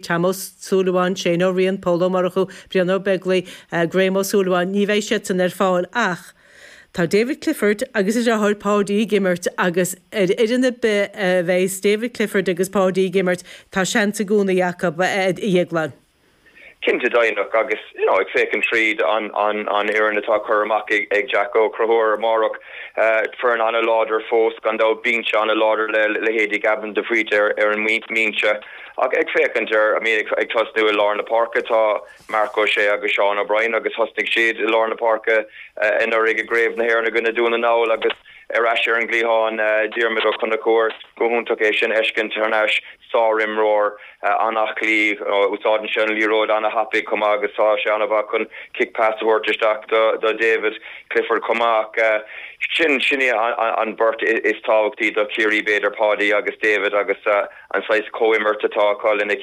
Tom Ó Súilleabháin, Shane Ó Riain, Pól Ó Murchú, Brian Ó Beaglaoi, Graham Ó Súilleabháin, ní bheidh siadsan ar fáil ach tá David Clifford agus a dheartháir Paudie ag imirt agus ar fhoireann ar bith a bheidh David Clifford agus Paudie ag imirt tá seans i gcónaí acu, a Dhéagláin. Cinnte deimhneach agus you know ag féachaint tríd an an an fhoireann atá curtha amach ag ag Jack Ó Conchúir amárach, foireann an-láidir fós gan dabht, binse an-láidir le leithéidí Gavin de Faoite ar ar an mbinse ach ag féachaint ar I mean ag ag tosnú i lár na páirce tá Marc Ó Sé agus Seán O'Brien agus thosnaigh siad i lár na páirce anuraidh i gCraobh na hÉireann i gcoinne Dún na nGall agus ar ais ar an gcliathán Diarmuid Ó Conchúir, go hiontach é sin a fheiscint thar n-ais. Sár-imreoir, an-aclaí, úsáideann sé an liathróid an-thapaidh chomh maith agus tá sé an-mhaith chun kick pass a thabhairt isteach do David Clifford chomh maith ach sin, sin é an beirt is tábhachtaí do Chiarraí b'fhéidir, Paudie agus David agus an saghas comhimirt atá acu lena.